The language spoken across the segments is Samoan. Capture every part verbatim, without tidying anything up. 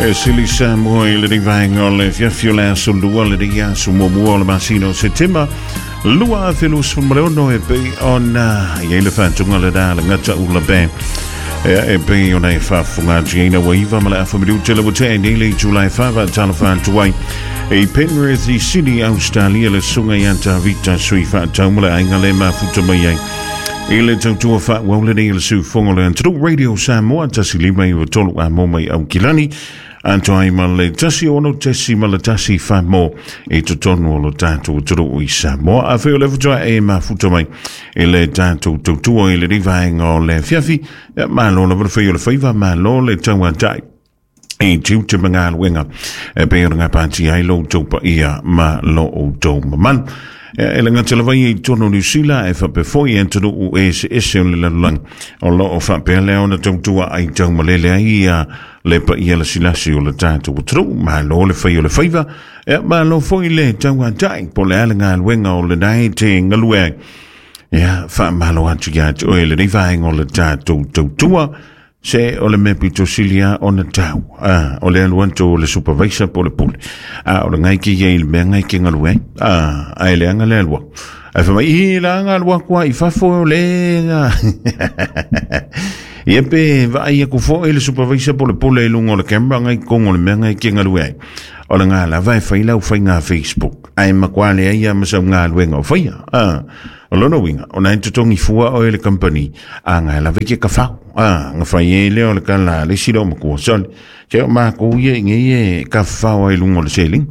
E sili Samoa i le rivaenga o le fiafi o le aso lua le ria aso muamua o le masina o Setema lua afe luasefulu ma le ono e pei ona iai le faatuga le da le gata ula pe e e pei ona e faafofoga ua iva ma le afa minute le ua tea nei le itulai fava talofa atu ai e Penrith i Sydney, Australia le suga ia Tavita sui faatau ma le aiga le mafuta mai ai i le tautua faauau lenei le sufogo le atunuu Radio Samoa tasi lima iva tolu a mo mai Aukilani atoa ma le tasi ono tesi ma le tasi famo i totonu o lo tatou atunuu i Samoa. Afai o le faatoa e mafuta mai i le tatou tautua i le vaega o le afiafi, malo lava le fai o le faiva, malo le tauatai e tiute ma galuega e pei ona gapatia ai lo outou paia ma lo outou mamalu. E le gata lava ia i totonu o Niu Sila e faapea foi e atunuu eseese o le lalolagi o loo faapea lea ona tautua ai taumalele ai ia le paia lasilasi o le tatou atunuu. Malo le fai o le faiva, e malo foi le tauatai po o le a le galuega o lena e te galue ai. Ia faamalo atu ia te oe lenei vaega o le tatou tautua se o le mea pito sili a ona tau ah, o le alu atu o le supervisor po o le pule a o le ngai ke ia i le mea ngai ke galue ai ah, ae leaga le alua ae fai mai i la alu aku ai i fafo o le ia pe vaai aku foi le supervisor po o le pule i luga o le camera ngai kogo o le mea ngai ke galue ai o le ngā lava e fai lau faiga Facebook ae makuā leai ia ma sau galuega o faia ah. O lona uiga ona e totogi fua oe le company a gae lava i ke kafau a ga fai ai lea o le kala le isi leo makua sole se o makou ia i nei e kafafao ai luga o le seleni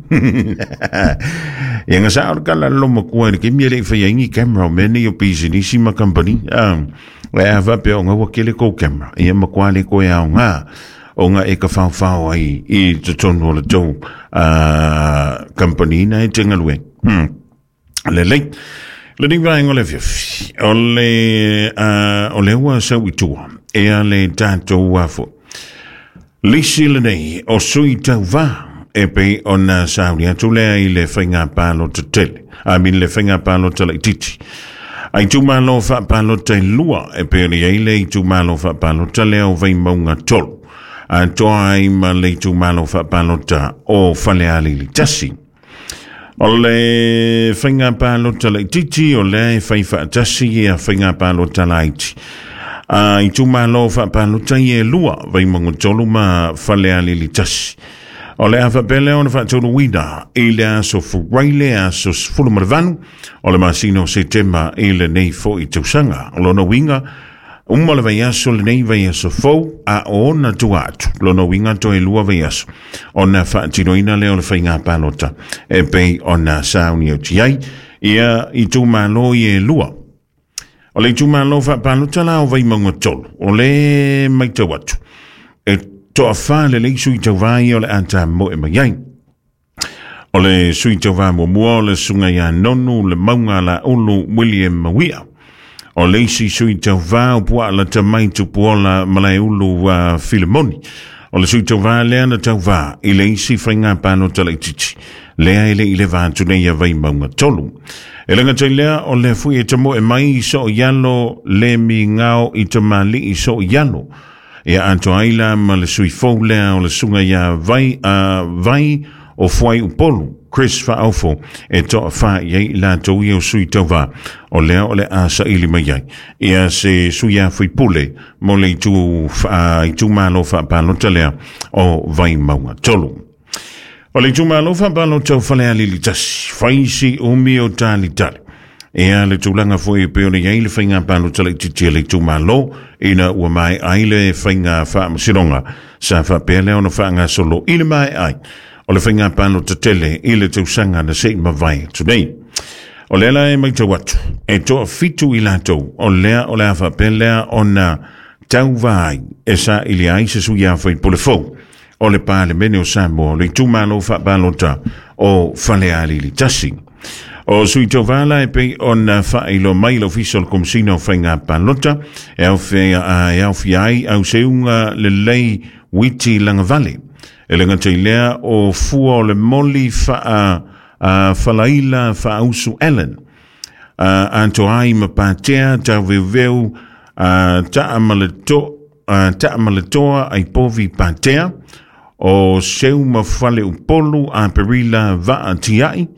ia ga sa o le kala le lomakua i le kemi e leʻi fai ai ni camera o mea nei o pisinisi ma company a e a faapea o gaua kele kou camera ia makuā le koe aogā o nga e kafaofao ai i totonu o le tou company na e te galue hmm. Lelei lenei vaega o le afiafi o le uh, o le ua sau i tua ea le tatou afo lisi lenei o sui tauvā e pei ona sauni atu lea i le faiga palota tele a min le faiga palota laitiiti a itumalo faapalota e lua e pei ona i ai le itumalo faapalota lea o Vaimauga tolu atoa ai ma le itumalo faapalota o Falealili tasi. O le faiga palota laitiiti o lea e fai faatasi ia faiga palota laiti a itumalo faapalota ia e lua Vaimauga tolu ma Falealili tasi. O le a faapea lea ona faataunuuina i le aso Furaile aso sefulu ma le valu o le masina o Setema i lenei foʻi tausaga. O lona uiga uma le vaiaso lenei vaiaso fou a ona tua atu lona uiga toe lua vaiaso ona faatinoina lea o le faiga palota e pei ona sauni atu ai ia itumalo ia e lua. O le itumalo faapalota la o Vaimauga tolu o le maitau atu e toafā lelei sui tauvā ia o le a tamoe mai ai. O le sui tauvā muamua o le suga ia Nonu le Mauga Laulu William Mawia. O le isi sui tauvā o Puaalata mai Tupuola Malaeulu uh, Filemoni. O le sui tauvā lea na tauvā i le isi faiga palota laitiiti lea e leʻi leva atu nei ia Vaimauga tolu. E le gata i lea o le fui e tamoe mai so ialo le migao i tamalii so ialo ia atoa ai la ma le sui fou lea o le suga ia Vai, uh, Vai o Fuai Upolu Chris Faaofo e toafā i ai i latou ia o sui tauvā o lea o le a saili mai ai ia se sui a faipule mo le itu, uh, itumalo faapalota lea o Vaimauga tolu. O le itumalo faapalota o Falealili tasi faisi umi o talitali ea le tulaga foi e pei ona i ai le faiga palota laitiiti a le itumalo ina ua mae ai le faiga faamasinoga sa faapea lea ona faagasolo i le mae ai o le faiga palota tele i le tausaga na sei mavae atu nei. O lea la e maitau atu e toafitu i latou o lea o le a faapea lea ona tauvā ai e saili ai se sui a faipule fou o le Palemene o Samoa o le itumalo faapalota o Falealili tasi. O sui tauvā la e pei ona faailoa mai le Ofisa o le Komesina o Faiga Palota e aofia ai auseuga lelei Witi Lagavale. E le gata i lea o fua o le moli faa uh, Falaila Faausu Allen. Uh, atoa ai ma Patea Tauveuveu uh, Taamaletoa uh, Taamaletoa Aipovi Patea O Seuma Fale Upolu a Perila Vaatiai,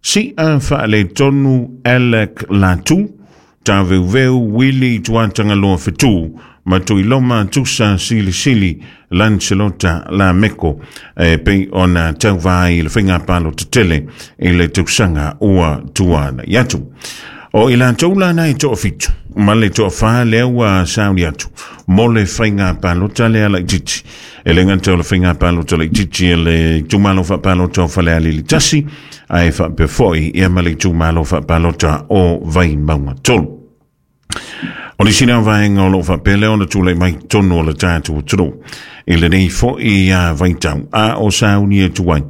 Sia Faaletonu Alec Latu, Taveuveu Willy Tuatangaloa Fetu, Matuiloma Tusa Silisili Lancelota Lameko, e pei ona tauvai le faiga palota tele i le tausaga ua tuana i atu. O i latou lana e toafitu, ma le toafā lea ua sauni atu, mo le faiga palota lea laitiiti. E le gata o le faiga palota laitiiti e le itumalo faapalota o Falealili tasi, ae faapea foi ia ma le itumalo faapalota o Vaimauga tolu. O le sina vaega o loo faapea lea ona tulai mai tonu o le tatou atunuu i lenei foi a vaitau a o sauni atu ai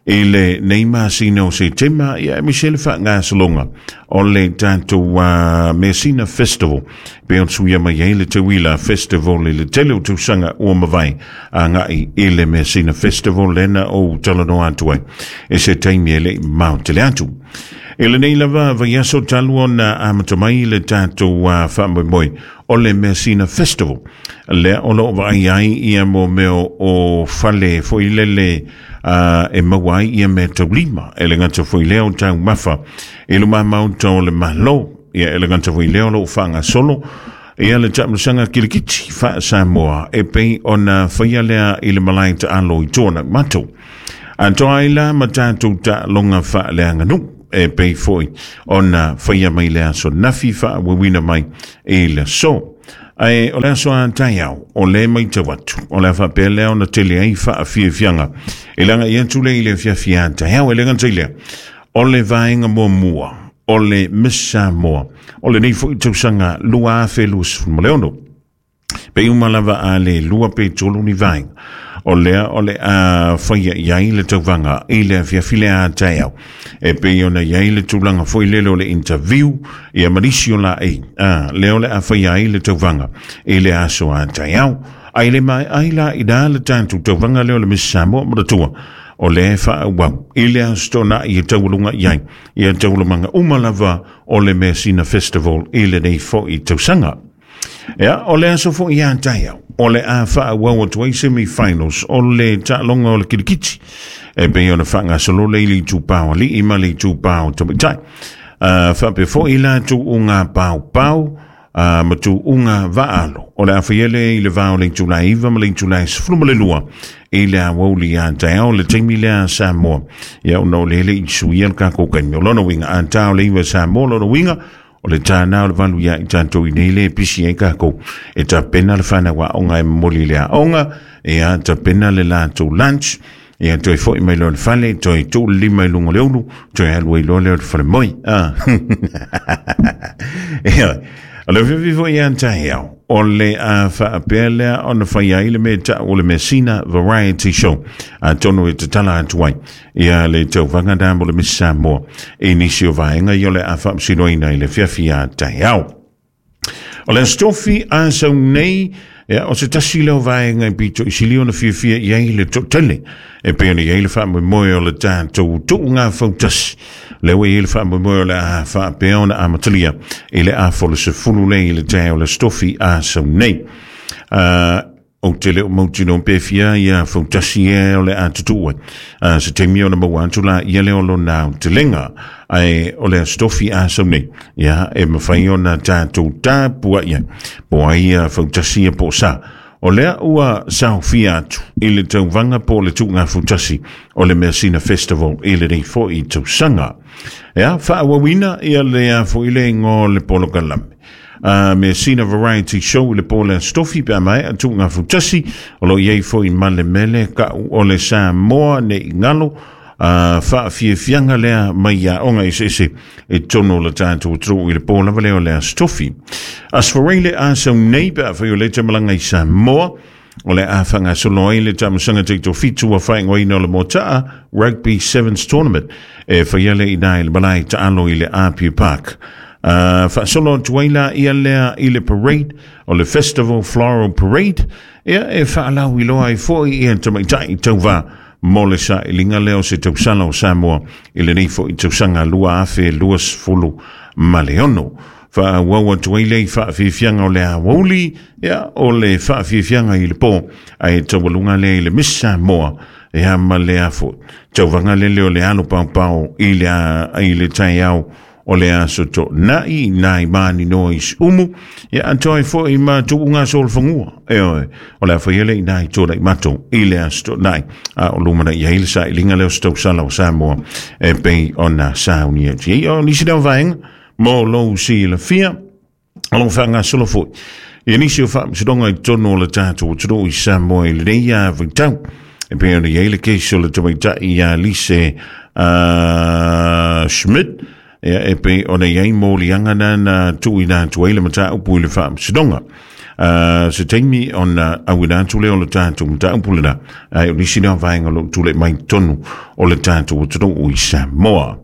i le nei masina o Setema, ia aemaise le faagasologa o le tatou uh, Measina Festival pe ona suia mai ai le Teuila Festival i le tele o tausaga ua mavae agai i le Measina Festival lena ou talanoa atu ai e se taimi e le'i mamao tele atu. I lenei lava vaiaso talu ona amata mai le tatou uh, faamoemoe o le Measina Festival lea o loo vaai ai ia mo mea o fale foi lele uh, e maua ai ia mea taulima e le gata foi lea o taumafa i luma maota o le Malo, ia e le gata foi lea o loo faagasolo ia le taamilosaga kilikiti faa-Samoa e pei ona faia lea i le malae taalo i tuana matou. Atoa ai la ma tatou taaloga faaleaganuu e pei foi ona faia mai le aso nafi faauauina mai i le aso. Ae o le aso a taeao o le maitau atu o le a faapea lea ona tele ai faafiafiaga e lagai atu le i le afiafi a taeao e le gata i lea o le vaega muamua o le Miss Samoa o lenei foi tausaga lua afe luasefulu ma le ono. Pe uma lava a le lua pe tolu ni vaega o lea o le a faia i ai le tauvaga i le afiafi le a taeao e pei ona i ai le tulaga foi lele o le interview ia ma nisi o laei a lea o le a faia ai le tauvaga i le aso a taeao. Ai le mai ai la i da le tatou tauvaga lea o le Miss Samoa manatua o le faaauau i le aso tona'i e taualuga i ai ia taualumaga uma lava o le Measina Festival i lenei foi tausaga. Ia, o le aso foi ia taeao o le a faaauau atu ai semi-finals o le taaloga o le kilikiti e pei ona faagasolo le i le itupā o alii ma le itupā o tamaitai. Uh, faapea foi la tuuga paopao uh, ma tuuga vaalo o le a faia lea i le va o le itula e iva ma le itula e sefulu ma le lua i le aoauli a taeao le taimi lea a Samoa. Ia ona o le le i suia le kākou kaimi o lona uiga a tao le iva Samoa lona uiga o le tānā o le valu ia i tātou i nei le pisi ai kākou e tapena le whanau aoga e momoli le aoga, ia tapena le latou lunch, ia toe foi mai loa le fale, toe tuu le lima i luga o le ulu, toe alu ai loa lea o le fale moi. Ah. Ia, o le afiafi foi ia taeao o le a faapea lea ona fai ai le mea ta'u o le Measina Variety Show atonu e tatala atu ai ia le tauvaga na mo le Miss Samoa i nisi o vaega ia o le a faamasinoina i le afiafi a taeao. O le aso tofi a sau nei, ia, o se tasi leo vaega i pito i sili ona fiafia i ai le toatele e pei ona i ai le faamoemoe o le tatou tuuga fautasi. Lea ua i ai le faamoemoe o le a faapea ona amatalia i le afa o le sefulu le i le taeao o le aso tofi a sau nei. Uh, o te leo mautino pe fia ia fautasi e o le a tutuu ai. Uh, se taimi ona maua atu la ia lea o lona aotelega ae o le aso tofi a sau nei. Ia, e mafai ona tatou tapuai ai po ai ia fautasi ia po o sa. O lea ua saofia atu i le tauvaga po o le tuuga fautasi o le Measina Festival i lenei foi tausaga. Ia, faaauauina ia le a foi le igoa o le polokalame. Uh, Measina Variety Show i le po o le aso tofi pe a maea tuuga fautasi o loo i ai foi ma le mele ka'u o le Samoa nei galo uh, faafiafiaga lea mai aoga eseese e tonu o le tatou atunuu i le po lava lea o le aso tofi. Aso Faraile le a sau nei pe afai o le te malaga i Samoa o le a faagasolo ai le taamilosaga taitofitu ua faaigoaina o le Mota'a Rugby Sevens Tournament e faia le i na i le malae taalo i le Apia Park. Uh, faasolo atu ai la ia lea i le parade o le Festival Floral Parade ia e faalauiloa ai foi ia tamaitai tauvā mo le sailiga lea o se tausala o Samoa i lenei foi tausaga lua afe luasefulu ma le ono. Faaauau atu ai lea i faafiafiaga o le aoauli, ia o le faafiafiaga i le pō, ae taualuga lea i le Miss Samoa, ia ma le afo tauvaga lele o le alo paopao i le, i le taeao o le aso toonai nai mani noa i umu, ia atoa ai foi ma tuuga solofagua e oe o le a faia le inai tōlai mato i le aso toonai a o lumana i ai le sailiga lea o se tausala o Samoa e pei ona saunia atu ai. O nisi lea o vaega mo lou silafia o lou faagasolo foi ia nisi o faamasinoga i totonu o le tatou atunuu i Samoa i lenei vaitau e pei ona i ai le kesi o le tamaitai ia Lise uh, Schmidt, ia e pei ona i ai moliaga na na tuuina atu ai le mataupu i le faamasinoga. Uh, se taimi ona auina atu lea o le tatou mataupu lena, ae o nisi lea o vaega o loo tulai mai totonu o le tatou atunuu i Samoa.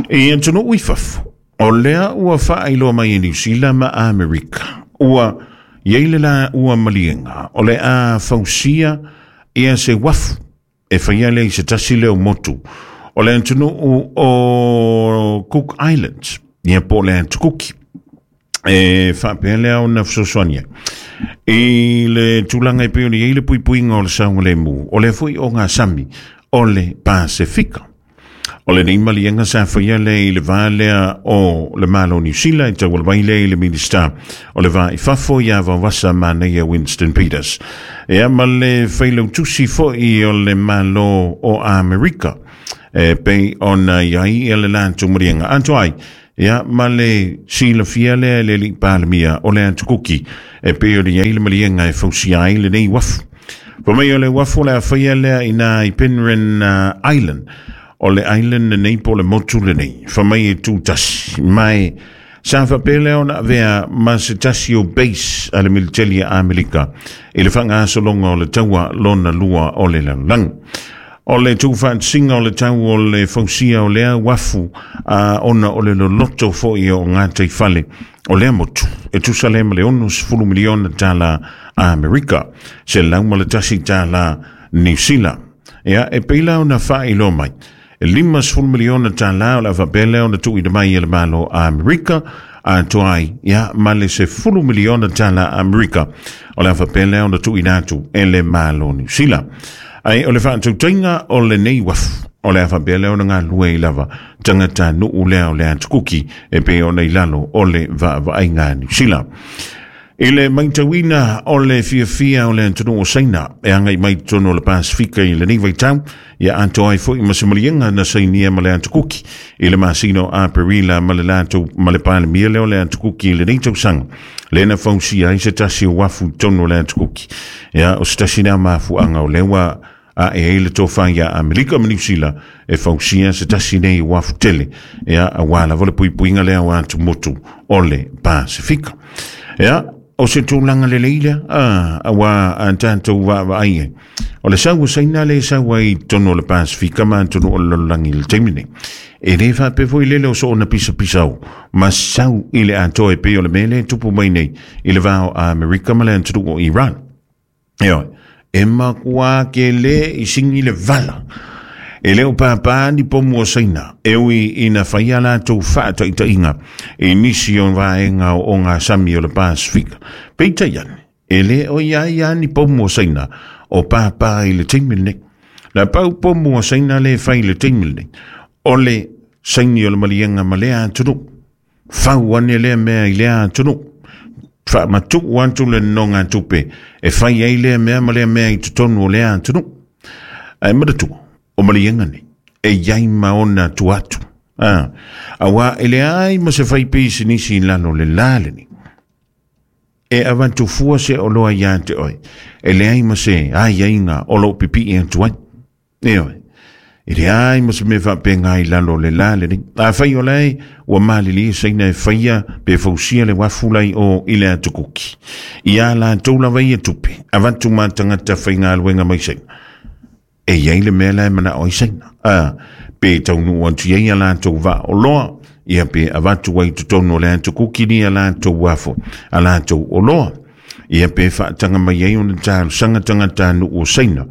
I atunuu i fafo, o lea ua faailoa mai e Niu Sila ma Amerika ua iai le la ua maliega o le a fausia ia se uafu e faia lea i se tasi lea o motu o le atunuu o Cook Islands, ia po o le Atukuki, e faapea lea ona fesoasoani ai i le tulaga e pei ona i ai le puipuiga o le saogalemu o lea foi o gasami o le Pasefika. O lenei maliega sa faia lea i le va lea o le Malo o Niu Sila e tauala mai lea i le Minista o le Va i Fafo ia Vaovasa Manaia Winston Peters, ia ma le failautusi foi o le Malo o Amerika e pei ona i ai ia le latou maliega atoa ai, ia ma le silafia lea e le alii Palemia o le Atukuki e pei ona i ai le maliega e fausia ai lenei uafu. Fai mai o le uafu o le a faia lea ina i Penrhyn uh, Island, o le island lenei po o le motu lenei fai mai e tutasi mai sa faapea lea ona avea ma se tasi o base a le militeli a Amerika i le faagasologa o le taua lona lua o le lalolagi. O le tuufaatasiga o le tau o le fausia o lea uafu a ona o le loloto foi o gataifale o lea motu e tusa lea ma le ono sefulu miliona tala Amerika, se lau ma le tasi tala Niu Sila. Ia e pei la ona faailoa mai e lima sefulu miliona tala o le a faapea lea ona tuuina mai e le Malo a Amerika atoa ai, ia ma le sefulu miliona tala Amerika o le a faapea lea ona tuuina atu e le Malo Niu Sila. Ai o le faatautaiga o lenei uafu o le a faapea lea ona galue ai lava tagatanuu lea o le Atukuki e pei ona i lalo o le vaavaaiga a Niu Sila. I le matauina o le fiafia o le atunuu o Saina e agai mai totonu o le Pasifika i lenei vaitau, ia atoa ai foi ma se maliega na sainia ma le Atukuki i le masina o Aperila ma le latou ma le Palemia lea o le Atukuki i lenei tausaga lea na fausia ai se tasi o uafu i totonu o le Atukuki. Ia o se tasi lea mafuaaga o lea ua ae ai le tofa ia Amerika ma Niu Sila e fausia se tasi nei uafu tele, ia auā lava le puipuiga lea o atumotu o le Pasifika. Ia o se tulaga lelei lea a auā a tatou vaavaai ai o le sau o Saina le sau ai i totonu o le Pasifika ma atunuu o le lalolagi i le taimi nei. E lē faapea foi lele o soona pisapisao ma sau i le atoa e pei o le mea lea e tupu mai nei i le va o Amerika ma le atunuu o Iran. E oe e makuā kelē i sigi le vala e le o pāpā ni pomu o Saina e ui ina faia latou faataitaiga i nisi o vaega o gasami o le Pasifika. Peitai ane e lē o ia ia ni pomu o Saina o pāpā i le taimi lenei. La pau pomu o Saina le fai i le taimi lenei o le saini o le maliega ma lea atunuu fau ane lea mea i lea atunuu faamatuu atu le nonogatupe e fai ai lea mea ma lea mea i totonu o lea atunuu. Ae manatua o maliega nei e iai ma ona tu atu a auā e leai ma se fai pisinisi i lalo le la lenei e avatu fua se oloa iā te oe e leai ma se aiaiga o loo pipii atu ai. E oe e leai ma se mea faapega i lalo le la lenei. Afai o lae ua malilie Saina e faia pe fausia le uafu lai o i le Atukuki ia latou lava ia tupe avatu ma tagata faigaluega mai Saina e iai le mea la e manao ai Saina a pe taunuu atu iai a latou vaaoloa, ia pe avatu ai totonu o le Atukuki ni a latou uafu a latou oloa, ia pe faataga mai ai ona talosaga tagatanuu o Saina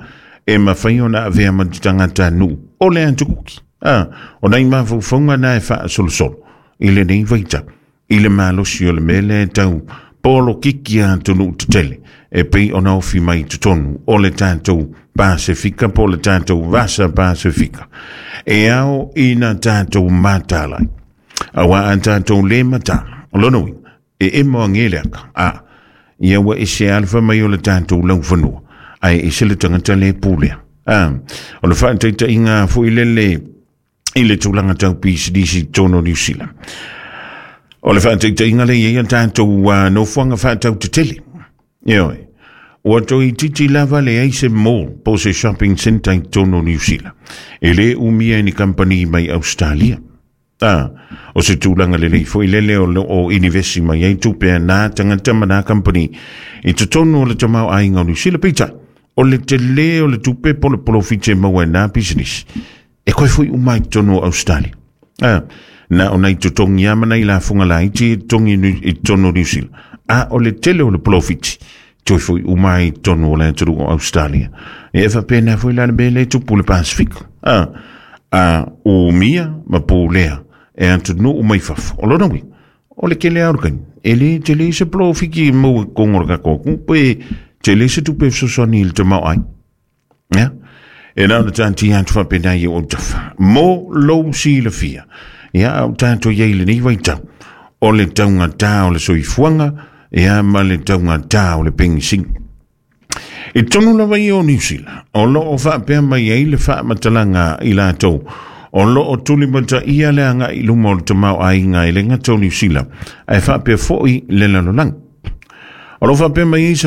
e mafai ona avea ma te tagatanuu o le Atukuki. A o nai mafaufauga na e faasolosolo i lenei vaitau I le malosi o le mea lea e tau polokiki atunuu tetele e pei ona ofi mai i totonu o le tatou Pasefika po o le tatou Vasa Pasefika. E ao ina tatou mataala ai. Auā a tatou lē mataala, o lona uiga, e emo age le aka, a, ia ua ese lava le fai mai o le tatou laufanua, ae ese le tagata lē pulea. A, o le faataitaiga foi lele i le tulaga tau pisinisi i totonu o Niu Sila. O le faataitaiga lea e i ai a tatou uh, nofoaga faatautetele. Ioe. Ua toeitiiti lava leai se mall po o se shopping centre i totonu o Niu Sila. E lē umia e ni kamupani mai Ausetalia. A, o se tulaga lelei foi lele o lo o inivesi mai ai tupe a nā tagata ma nā kamupani i totonu o le tamaoaiga o Niu Sila. Peitai, o le telē o le tupe po o le polofiti e maua e nā pisinisi, e koe foi uma i totonu o Ausetalia. A, na o nai totogi lava ma nai lafoga laiti e totogi i totonu o Niu Sila, a o le tele o le polofiti, toe foi uma i totonu o le atunuu o Ausetalia. E faapena foi la le mea lea e tupu i le Pasefika. A, a umia ma pulea e atunuu mai fafo. O lona uiga, o le tele lava o le taimi, e le tele se polofiti e maua i totonu o le tatou atunuu pe tele se tupe e fesoasoani i le tamaoaiga. Ia, e na ona taatia atu faapena i ou autafa mo lou silafia. Ia, a o tatou i ai i lenei vaitau, o le taugatā o le soifuaga, ia ma le taugatā o le penisini. I totonu lava ia o Niu Sila, o lo o faapea mai ai le faamatalaga i latou o lo o tulimataia le agai i luma o le tamaoaiga e le gata o Niu Sila, ae faapea foi le lalolagi. O lo o faapea mai ai se